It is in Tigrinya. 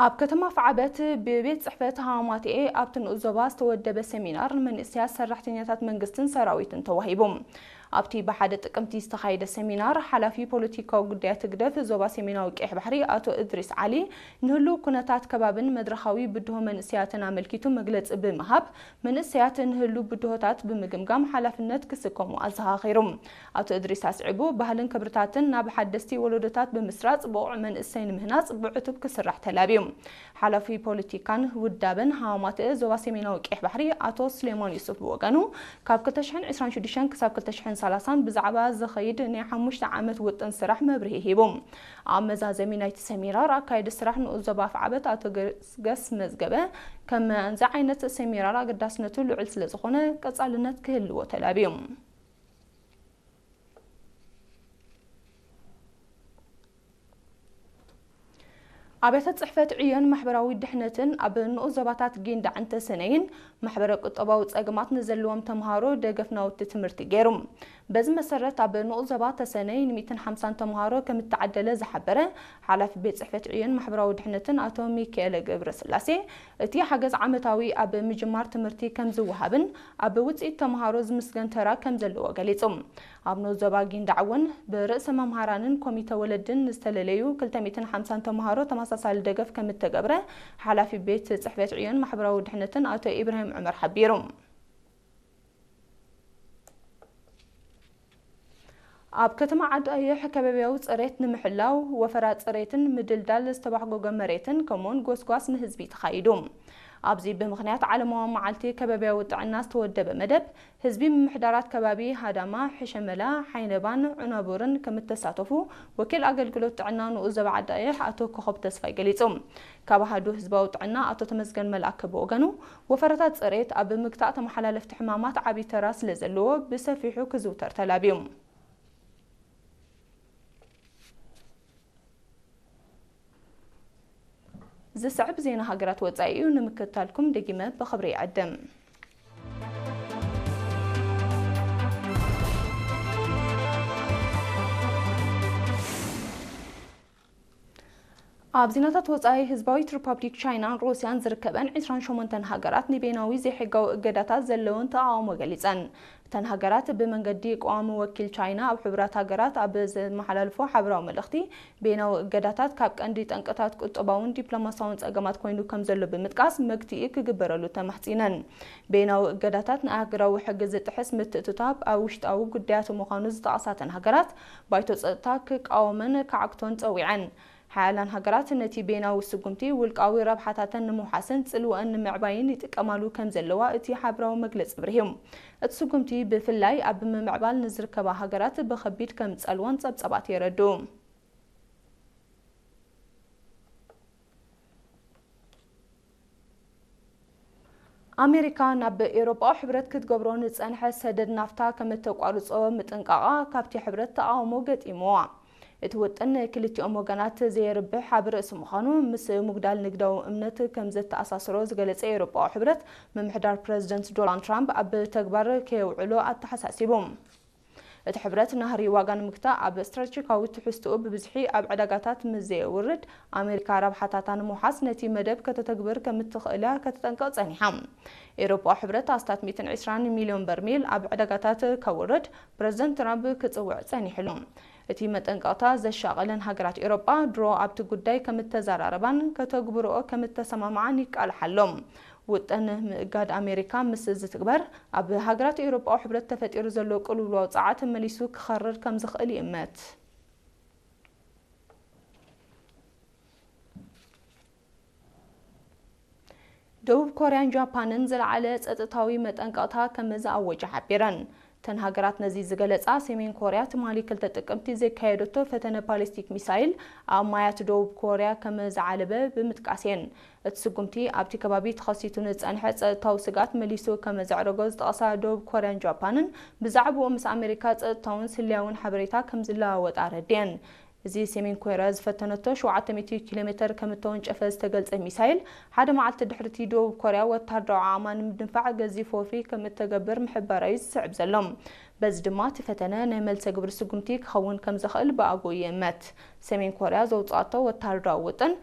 ኣብ ከተማ ፍዓበት ብቤት ጽሕፈት ሃማቴኤ ኣብቲ ንኡስ ዞባ ዝተወደበ ሰሚናር ንመንእሰያት ሰራሕተኛታት መንግስትን ሰራዊትን ተዋሂቡ። ኣብቲ ብሓደ ጥቅምቲ ዝተኻየደ ሰሚናር፣ ሓላፊ ፖለቲካዊ ጉዳያት ህግደፍ ዞባ ሰሜናዊ ቀይሕ ባሕሪ ኣቶ እድሪስ ዓሊ፣ ንህሉው ኩነታት ከባብን መድረኻዊ ብድሆ መንእሰያትን ኣመልኪቱ መግለጺ ብምሃብ፣ መንእሰያት ንህሉው ብድሆታት ብምግምጋም ሓላፍነት ክስከሙ ኣዘኻኺሩ። ኣቶ እድሪስ ኣስዒቡ፣ ባህልን ክብርታትን ናብ ሓደስቲ ወለዶታት ብምስራጽ፣ ብቑዕ መንእሰይ ንምህናጽ ብዕቱብ ክስራሕ ተላብዩ። ሓላፊ ፖለቲካን ውዳበን ሃማማትእ ዞባ ሰሜናዊ ቀይሕ ባሕሪ ኣቶ ስሌማን ዩሱፍ ብወገኑ፣ ካብ ክልተ ሽሕን ዕስራን ሽዱሽተን ክሳብ ክልተ ሽሕን ሰላሳን ብዛዕባ ዝኸይድ ናይ ሓሙሽተ ዓመት ውጥን ስራሕ መብርሂ ሂቡ። ኣብ መዛዘሚ ናይቲ ሰሚናር፣ ኣካየዲ ስራሕ ንኡስ ዞባ ኣፍዓበት ኣቶ ገስገስ መዝገበ፣ ከምዚ ዓይነት ሰሚናር ኣገዳስነቱ ልዑል ስለ ዝኾነ ቀጻልነት ክህልዎ ተላብዩ። ኣብያተ ጽሕፈት ዕዮን ማሕበራዊ ድሕነትን ኣብ ንኡስ ዞባታት ጊንዳዕን ተሰነይን ማሕበረ ቁጠባዊ ጸገማት ንዘለዎም ተምሃሮ ደገፍ ናውቲ ትምህርቲ ገይሩ። በዚ መሰረት፣ ኣብ ንኡስ ዞባ ተሰነይ ንሚእትን ሓምሳን ተምሃሮ ከም እተዓደለ ዝሓበረ ሓላፊ ቤት ጽሕፈት ዕዮን ማሕበራዊ ድሕነትን ኣቶ ሚካኤለ ገብረስላሴ፣ እቲ ሓገዝ ዓመታዊ ኣብ ምጅማር ትምህርቲ ከም ዝወሃብን ኣብ ውጽኢት ተምሃሮ ዝምስገን ተራ ከም ዘለዎ ገሊጹ። ኣብ ንኡስ ዞባ ጊንዳዕ እውን ብርእሰ መምሃራንን ኮሚተ ወለድን ዝተለለዩ ክልተ ሚእትን ሓምሳን ተምሃሮ ተመሳሳሊ ደገፍ ከም እተገብረ ሓላፊ ቤት ጽሕፈት ዕዮን ማሕበራዊ ድሕነትን ኣቶ ኢብራሂም ዑመር ሓቢሩ። ኣብ ከተማ ዓዲ ኣየሕ ከባብያዊ ጽሬት ንምሕላው ወፈራ ጽሬትን ምድልዳል ዝተባሕጎገ መሬትን ከምኡውን ጎስጓስ ንህዝቢ ተኻይዱ። ኣብዚ ብምኽንያት ዓለማዊ መዓልቲ ከባብያዊ ጥዕና ዝተወደበ መደብ፣ ህዝቢ ምምሕዳራት ከባቢ ሃዳማ፣ ሕሸመላ፣ ሓይነባን ዑናቡርን ከም እተሳተፉ ወኪል ኣገልግሎት ጥዕና ንኡስ ዞባ ዓዲ ኣየሕ ኣቶ ኮኸብ ተስፋይ ገሊጹ። ካብ ኣሃዱ ህዝባዊ ጥዕና ኣቶ ተመስገን መልኣከ ብወገኑ፣ ወፈራታት ጽሬት ኣብ ምግታእ ተመሓላለፍቲ ሕማማት ዓቢ ተራ ስለ ዘለዎ ብሰፊሑ ክዝውተር ተላብዩ። ዝስዕብ ዜና ሃገራት ወጻኢ እዩ፣ ንምክትታልኩም ደጊመ ብኽብሪ ይዕድም። ኣብ ዜናታት ወጻኢ፣ ህዝባዊት ሪፓብሊክ ቻይናን ሩስያን ዝርከበን ዕስራን ሸሞንተን ሃገራት ንቤናዊ ዘይሕጋዊ እገዳታት ዘለውን ተቓውሞ ገሊጸን። እተን ሃገራት ብመንገዲ ቀዋሚ ወኪል ቻይና ኣብ ሕቡራት ሃገራት ኣብ ዘመሓላልፎ ሓበራዊ መልእኽቲ፣ ቤናዊ እገዳታት ካብ ቀንዲ ጠንቅታት ቁጠባውን ዲፕሎማሲያውን ጸገማት ኮይኑ ከም ዘሎ ብምጥቃስ፣ መግትኢ ክግበረሉ ተማሕጺነን። ቤናዊ እገዳታት ንኣህጉራዊ ሕጊ ዝጥሕስ ምትእትታብ ኣብ ውሽጣዊ ጉዳያት ምዃኑ ዝጠቐሳ እተን ሃገራት፣ ባይቶ ጸጥታ ክቃወመን ክዓግቶን ጸዊዐን። ሓያላን ሃገራት ነቲ ቤናዊ ስጉምቲ ውልቃዊ ረብሓታተን ንምውሓስን ጽልወአን ንምዕባይን ይጥቀማሉ ከም ዘለዋ እቲ ሓበራዊ መግለጺ ኣብሪሁ። እቲ ስጉምቲ ብፍላይ ኣብ ምምዕባል ንዝርከባ ሃገራት ብኸቢድ ከም ጸልወን ጸብጸባት የረድኡ። ኣሜሪካ ናብ ኤውሮጳዊ ሕብረት ክትገብሮ ንጸንሐ ሰደድ ናፍታ ከም እተቋርጾ ምጥንቃቓ ካብቲ ሕብረት ተቓውሞ ገጢምዋ። እቲ ውጥን ንክልቲኦም ወገናት ዘየርብሕ ኣብ ርእሲ ምዃኑ፣ ምስ ምጉዳል ንግዳዊ እምነት ከም ዘተኣሳስሮ ዝገለጸ ኤውሮጳዊ ሕብረት፣ ምምሕዳር ፕረዚደንት ዶናልድ ትራምፕ ኣብ ተግባር ከየውዕሎ ኣተሓሳሲቡ። እቲ ሕብረት ናህሪ ዋጋ ንምግታእ ኣብ ስትራቴጂካዊ ትሕዝትኡ ብብዝሒ ኣብ ዕዳጋታት ምስ ዘየውርድ፣ ኣሜሪካ ረብሓታታ ንምውሓስ ነቲ መደብ ከተተግብር ከም እትኽእል እያ ከተጠንቅቕ ጸኒሓ። ኤውሮጳዊ ሕብረት ኣስታት ሚእትን ዕስራን ሚልዮን በርሚል ኣብ ዕዳጋታት ከውርድ ፕረዚደንት ትራምፕ ክጽውዕ ጸኒሑ ኣሎ። እቲ መጠንቀቕታ ዘሻቐለን ሃገራት ኤውሮጳ ድሮ ኣብቲ ጉዳይ ከም እተዘራረባን ከተግብርኦ ከም እተሰማምዓን ይቃልሓ ኣሎ። ውጥን ምእጋድ ኣሜሪካ ምስ ዝትግበር፣ ኣብ ሃገራት ኤውሮጳዊ ሕብረት ተፈጢሩ ዘሎ ቅልውላው ጸዓት መሊሱ ክኸርር ከም ዝኽእል ይእመት። ደቡብ ኮርያን ጃፓንን ዝለዓለ ጸጥታዊ መጠንቀቕታ ከም ዝኣወጀ ሓቢረን። እተን ሃገራት ነዚ ዝገለጻ፣ ሰሜን ኮርያ ትማሊ ክልተ ጥቅምቲ ዘካየደቶ ፈተነ ባሊስቲክ ሚሳይል ኣብ ማያት ደቡብ ኮርያ ከም ዝዓለበ ብምጥቃስ እየን። እቲ ስጉምቲ ኣብቲ ከባቢ ተኸሲቱ ንጸንሐ ጸጥታዊ ስግኣት መሊሱ ከም ዘዕረጎ ዝጠቐሳ ደቡብ ኮርያን ጃፓንን፣ ብዛዕባኡ ምስ ኣሜሪካ ጸጥታውን ስለያውን ሓበሬታ ከም ዝለዋወጣ ኣረዲአን። እዚ ሰሜን ኮርያ ዝፈተነቶ ሸውዓተ ሚእቲ ኪሎ ሜተር ከም እተወንጨፈ ዝተገልጸ ሚሳይል፣ ሓደ መዓልቲ ድሕሪቲ ደቡብ ኮርያ ወተሃደራዊ ዓቕማ ንምድንፋዕ ገዚፍ ወፍሪ ከም እተገብር ምሕባራ እዩ ዝስዕብ ዘሎ። በዚ ድማ እቲ ፈተነ ናይ መልሰ ግብሪ ስጉምቲ ክኸውን ከም ዝኽእል ብኣግኡ ይእመት። ሰሜን ኮርያ ዘውጽኣቶ ወተሃደራዊ ውጥን